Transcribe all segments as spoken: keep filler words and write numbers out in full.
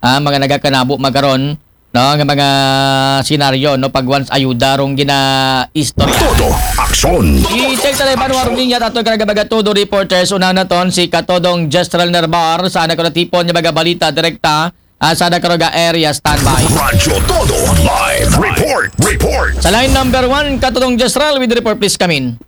ah, mga nagakanabo man karon, no, nga mga senaryo, no, pag once ayuda rong ginaistorya. Todo aksyon. I-check ta lang banwa ron linya aton karang mga Todo reporters. Una naton si Katodong Jezreel Nerbar sa ana karon natipon nga mga balita direkta, ah, sa ana karon nga area. Standby. Radyo Todo live report. Report. Sa line number one, Katodong Jezreel with the report, please come in.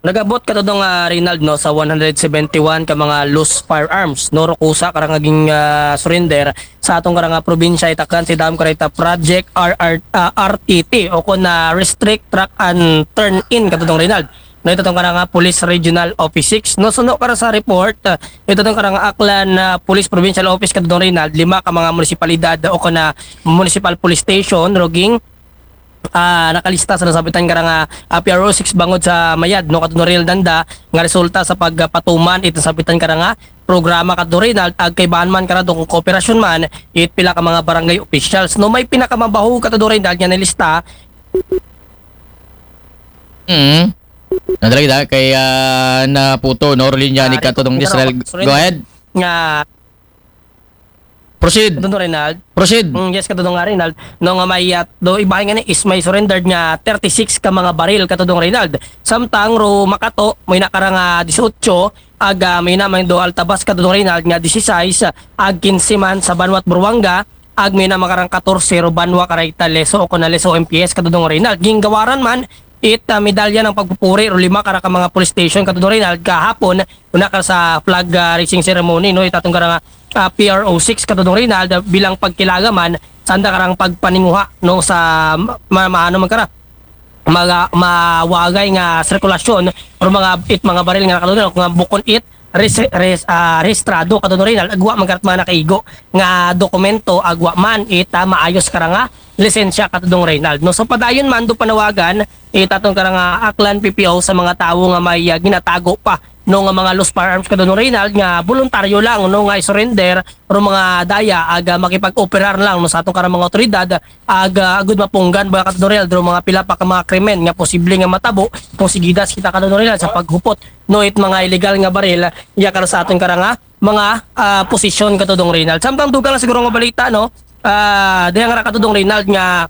Nagabot, Katodong, ah, Reynald, no, sa one hundred seventy-one ka mga loose firearms, no, ro kusa karang naging, ah, surrender sa atong karang, ah, probinsya. Itakdan si dam karita Project R R, ah, R T T o kon na Restrict, Track and Turn In, Katodong Reynald. No, ito tong karang, ah, Police Regional Office six. No, suno kara sa report, ah, ito tong karang Aklan, ah, Police Provincial Office, Katodong Reynald, lima ka mga munisipalidad o kon na municipal police station, ruging ah, nakalista sa nasabitan karang, ah, P R O six bangod sa mayad, no, Katodong Reynald, nga resulta sa pagpatuman ito nasabitan karang, ah, programa, Katodong Reynald, ag kaibahan man kara do kung kooperasyon man it pila ka mga barangay officials, no. May pinakamabaho, Katodong Reynald, nga nalista. Mm. Nadali kita kay, ah, naputo, no, linya ni Katodong Jezreel. Go ahead. Nga Proceed. Katodong Reynald. Proceed. Mm, yes, Katodong nga Reynald. No, nga may, ah, do ibahin nga ni is may surrendered nga thirty-six ka mga baril, Katodong Reynald. Samtang ro Makato, may nakarang, ah, dieciocho, ag, ah, may na may do Altabas, Katodong Reynald, nga dieciséis, ag quince man sa Banwa at Buruanga, ag may na makarang catorce ro Banwa karita Leso o kon na Leso M P S, Katodong Reynald. Ginggawaran man it, ah, medalya ng pagpupuri ro lima kara ka mga police station, Katodong Reynald, kahapon, una ka sa flag, ah, raising ceremony, no, itatong karang, ah, P R O six, Katodong Reynald, ah, bilang pagkilala man sanda karang pagpaninguha, no, sa ma-, ma-, ano man kara, mga mawagay nga sirkulasyon or mga it mga baril nga, Katodong Reynald, nga bukon it res, res, ah, rehistrado, Katodong Reynald, agwa man kara't mga nakaigo nga dokumento, agwa man it, ah, maayos karang, ah, lisensya, Katodong Reynald, no. So padayon man do panawagan it aton karang, ah, Aklan P P O sa mga tawo nga may, ah, ginatago pa, no, nga mga loose firearms, Katodong Reynald, nga voluntaryo lang, no, nga i-surrender ro mga daya ag, ah, makipag-operar lang, no, sa aton karang mga otoridad ag, ah, agud mapunggan ba, Katodong Reynald, ro mga pila pa ka mga krimen nga posible nga matabo kung sigidas kita, Katodong Reynald, sa paghupot, no, it mga illegal nga baril iya kara sa aton karang, ah, mga, ah, posisyon, Katodong Reynald. Samtang dugang na siguro nga balita, no, ah, diha nga ra, Katodong Reynald, nga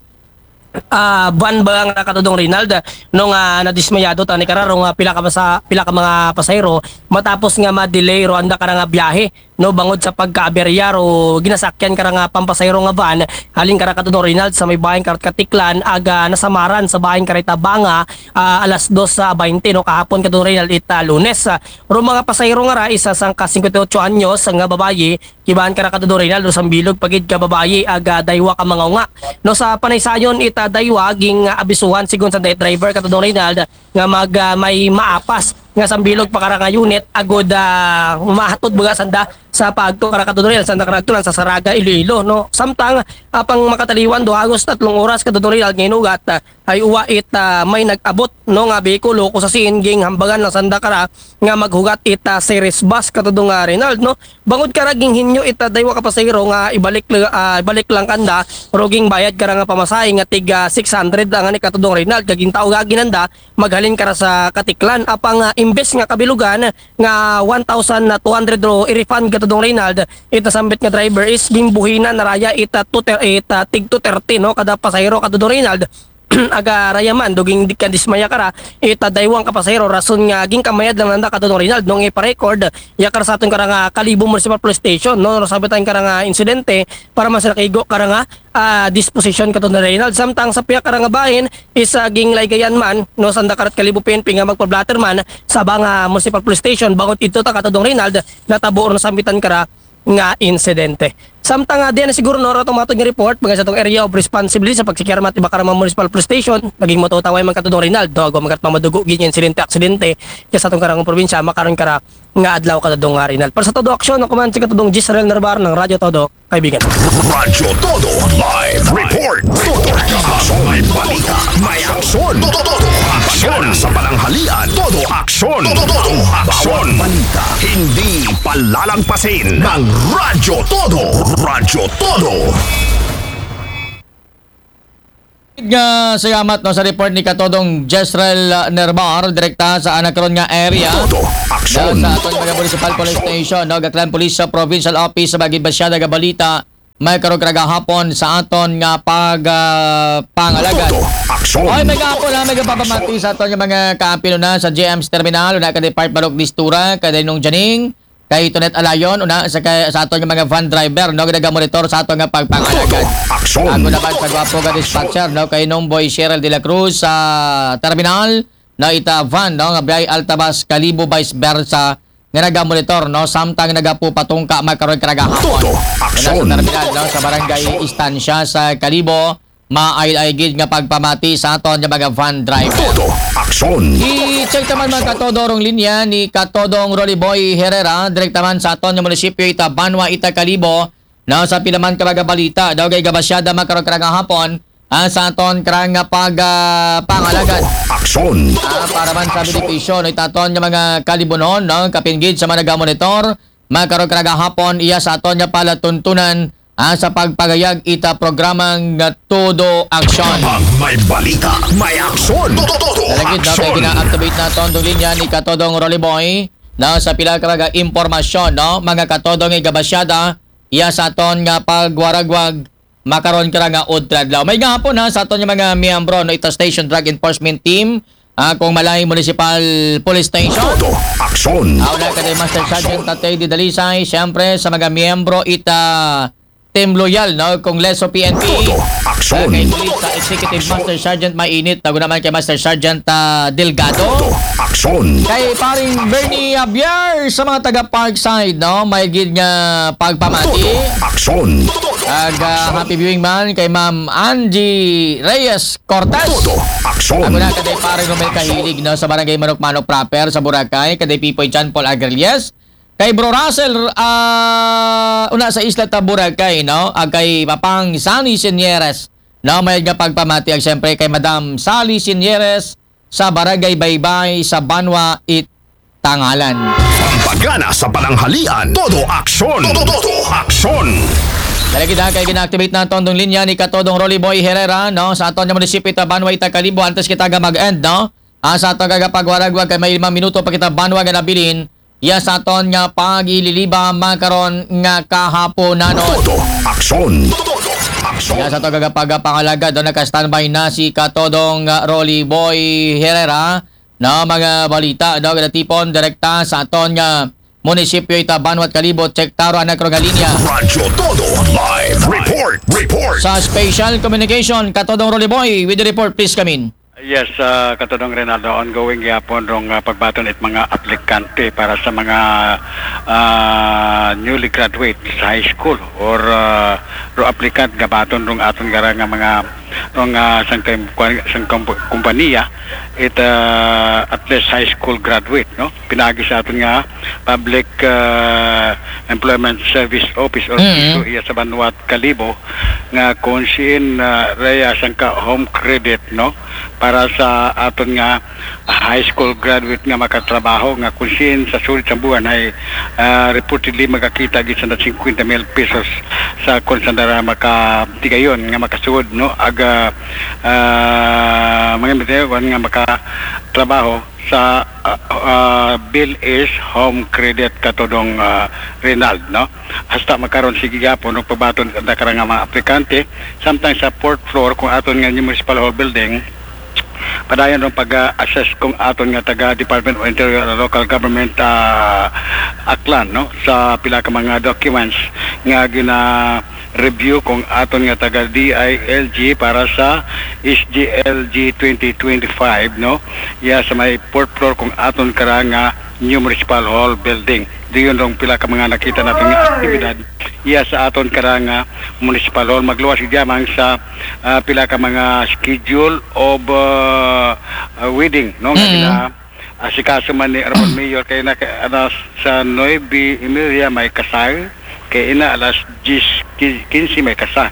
ah, van ba nga, Katodong Reynald, no, nga nadismayado tani kara ro nga pila ka sa pila ka mga pasahero matapos nga ma-delay ro anda kara nga biyahe, no, bangod sa pagkaaberya ro ginasakyan kara nga pampasahero nga van halin kara, Katodong Reynald, sa may bahin kara Katiklan ag, ah, nasamaran sa bahin kara Tabanga, ah, alas dos sa baynte, no, kahapon, Katodong Reynald, it, ah, Lunes. Ah, ro mga pasahero nga ra, isa sangka singkwenta y ocho anyos nga babayi, kibahan kara, Katodong Reynald, ro sambilog pa gid ka babayi ag, ah, daywa ka mga unga. No, sa panaysayon it, ah, daywa ging, ah, abisuhan sigon sa driver, Katodong Reynald, nga mag, ah, may maapas nga sambilog pa kara nga unit agud, ah, mahatod baga sanda sa paagto kara, Katodong Reynald, sanda kara agto lang sa Saraga, Iloilo, no. Samtang, ah, pang makataliwan do hagos tatlong oras, Katodong Reynald, nga inugat, ah, ay uwa it, ah, may nag-abot, no, nga behikulo kung sa scene ging hambagan lang sanda kara nga maghugat it, ah, series bus, Katodong, ah, Reynald, no. Bangod kara ging hinyo it, ah, daywa ka pasahero nga ibalik la-, ah, ibalik lang kanda, ro ging bayad kara nga pamasahe nga tig, ah, six hundred ang ani, Katodong Reynald, kag gintawag agi nanda maghalin kara sa Katiklan. Apang, ah, imbes nga kabilugan nga one thousand two hundred ro i-refund, Katodong Reynald, it nasambit nga driver is gimbuhinan na raya it, ah, two thir-, it, ah, tig two thirty, no, kada pasahero, Katodong Reynald. Aga raya man do ging di ka dismaya kara it, ah, daywang ka pasahero rason nga ginkamayad lang nanda, Katodong Reynald, no, nga ipa-record iya kara sa aton kara nga Kalibo Municipal Police Station, no, ro sambitan kara nga insidente para man sa nakaigo kara nga, ah, disposition, Katodong Reynald. Samtang sa piyak kara nga bahin is, ah, ginglaygayan man, no, sanda kara it Kalibo P N P nga magpa-blotter man sa Banga Municipal Police Station bangod ito ta, Katodong Reynald, natabo ro nasambitan kara nga insidente. Samtang, ah, diyan na siguro, no, ro atong matod nga report baga sa atong area of responsibility sa pagsekyar man it iba kara mga municipal police station, naging matutaway man, Katodong Reynald, do agwa man karat mamadugo gid nga insidente, aksidente iya sa atong karang probinsya makaron kara nga adlaw, Katodong, ah, Reynald. Para sa Todo Aksyon, ako man si Katodong Jezreel Nerbar ng Radyo Todo, kaibigan. Radyo Todo live report. Todo aksyon, may balita, may aksyon. Todo aksyon sa pananghalian. Todo aksyon. Todo aksyon. Balita hindi palalagpasin ng Radyo Todo. Radyo Todo. Nga salamat, no, sa report ni Katodong Jezreel, uh, Nerbar direkta sa ana karon nga area. Todo aksyon. Sa aton mga municipal police station, no, Aklan Police sa Provincial Office sa mga ginbasyada nga balita. may karong karong gahapon sa aton nga pag ah, pangalagad. Todo aksyon. Oy, may gahapon ha, may gapapamati sa aton nga mga kaapil na sa G M C terminal, una kay Depart Barok Distura, kay Dainong Janing, kay Tonet Alayon, una sa, kay, sa aton nga mga van driver, no, nga nagamonitor sa aton nga pagpangalagad. Aksyon. Ako naman sa gwapo nga dispatcher, no, kay Nongboy Cheryl de la Cruz sa terminal, no, ita van, no, nga biyay Altabas Kalibo, vice versa, nga nagamonitor, no, samtang nagapupatungka may karong karong gahapon. Todo Una sa aksyon. terminal, no, sa barangay Estancia sa Kalibo, maayod-ayod gid nga pagpamati sa aton nga mga van driver. Todo aksyon. I-check naman mga katodong linya ni Katodong Rolly Boy Herrera, direkta man sa aton nga munisipyo ita Banwa, ita Kalibo, no, sa pila man ka mga balita daw kay gabasyada mga karong karong gahapon, ah, sa aton karong nga pag ah, pangalagad. Aksyon. Ah, para man sa benepisyo no, ita aton nga mga Kalibonon, no, kapin gid sa mga nagamonitor, mga karong karong gahapon, iya sa aton nga palatuntunan, ah, sa pagpagayag ita programang nga Todo Aksyon. Pag may balita, may aksyon. Todo, todo Talagid, no, kay aksyon. gina-activate naton tong linya ni Katodong Rolly Boy, no, sa pila ka mga impormasyon, no, mga katodong nga gabasyada, iya sa aton nga pagwaragwag, makaron karong nga udto adlaw. May gahapon ha, sa aton nga mga miyembro, no, ita Station Drug Enforcement Team, ah, kung Malay Municipal Police Station. Todo aksyon. Ako na kay Master Sergeant Tatay Didalisay, siyempre sa mga miyembro ita Team Loyal, no, kung Leso P N P. Todo Ah, aksyon. kay Police sa Executive Master Sergeant Mainit, ako naman kay Master Sergeant ah, Delgado. Aksyon. Kay paring Bernie Javier sa mga taga Parkside, no, may gid nga pagpamati. Todo aksyon. Ag ah, happy viewing man kay Ma'am Angie Reyes Cortez. Todo aksyon. Ako na kay paring Romel Kahilig, no, sa barangay Manok-Manok proper sa Boracay, kay Pipoy John Paul Agrilles. Kay Bro Russell, ah, una sa isla ta Boracay, no? Ag kay Papang Sani Sinieres, no? May nga pagpamati ag siyempre kay Madam Sally Sinieres sa Barangay Baybay sa Banwa, it Tangalan. Pampagana sa pananghalian. Todo aksyon. Todo, todo aksyon. Dali kita kay gina-activate na tondong linya ni Katodong Rolly Boy Herrera, no? Sa aton nga munisipyo ita Banwa, ita Kalibo, antes kita nga mag-end, no? Ah, sa aton nga pagwaragwag kay may lima minuto pa kita Banwa nga nabilin, iya sa aton nga pagililiba makaron nga kahaponanon. Todo aksyon. Todo aksyon. Iya sa aton nga pagpangalagad, no, naka-standby na si Katodong ah, Rolly Boy Herrera, no, mga balita, no, nga natipon direkta sa aton nga munisipyo ita Banwa, Kalibo, check ta ro ang karong nga linya. Radyo Todo live report. Report. Sa special communication, Katodong Rolly Boy, with the report, please come in. Yes, uh, Katodong Rinaldo, ongoing gyapon rong uh, pagbaton it mga aplikante para sa mga uh, newly graduate sa high school or uh, ro applicant gabaton rong aton gara nga mga rong uh, sang, sang kumpanya it uh, at least high school graduate, no? Pinagi sa aton nga Public uh, Employment Service Office or Mm. PESO iya sa Banwa, Kalibo, nga kung siin uh, reya sang ka home credit, no, para sa aton nga high school graduate nga makatrabaho nga kung siin sa sulit sa buwan ay uh, reportedly magakita gid sa fifty mil pesos sa kung saan dara makatigayon nga makasud, no, aga uh, mga bitayon nga makatrabaho sa uh, uh, bill is home credit, Katodong uh, Rinald, no? Hasta makaron sige gyapon og pagbaton ang karang nga mga aplikante samtang sa fourth floor kung aton nga municipal hall building, padayon rong pag-assess kung aton nga taga Department of Interior and Local Government uh, Aklan, no, sa pila ka mga documents nga gina review kung aton nga taga D I L G para sa S G L G twenty twenty-five, no? Iya sa may fourth floor kung aton kara nga new municipal hall building. Diyon rong pila ka mga nakita natin nga aktibidad iya sa aton kara nga municipal hall. Magluwas gyamang sa uh, pila ka mga schedule of uh, uh, wedding, no? Nga mm. Asikaso man ni Ramon Mayor kay na, na sa nuebe y media may kasal, kay ina alas diyes kinse may kasal,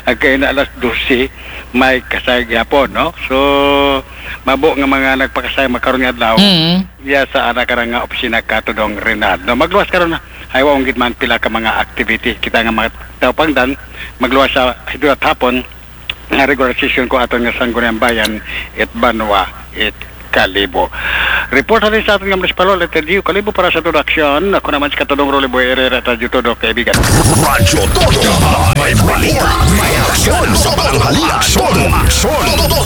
ag kay ina alas dose may kasal gyapon, no? So mabo nga mga nagpakasal makaron nga adlaw. Mm. Iya sa ana kara nga opisina, Katodong Rinald, no? Magluwas karon na. Ay wa gid man pila ka mga activity kita nga mga taupangdan magluwas sa hidulat hapon nga regular session ko aton nga Sangguniang Bayan it Banwa it Kalibo. Report natin sa ating mga munisipalyo, letter D, kalibo para sa Todo Aksyon. Ako naman si Katodong Rolly Boy Herrera at Radyo Todo, kaibigan. Radyo Todo. May balita, may aksyon. Sa tanghali, aksyon. Aksyon. Todo,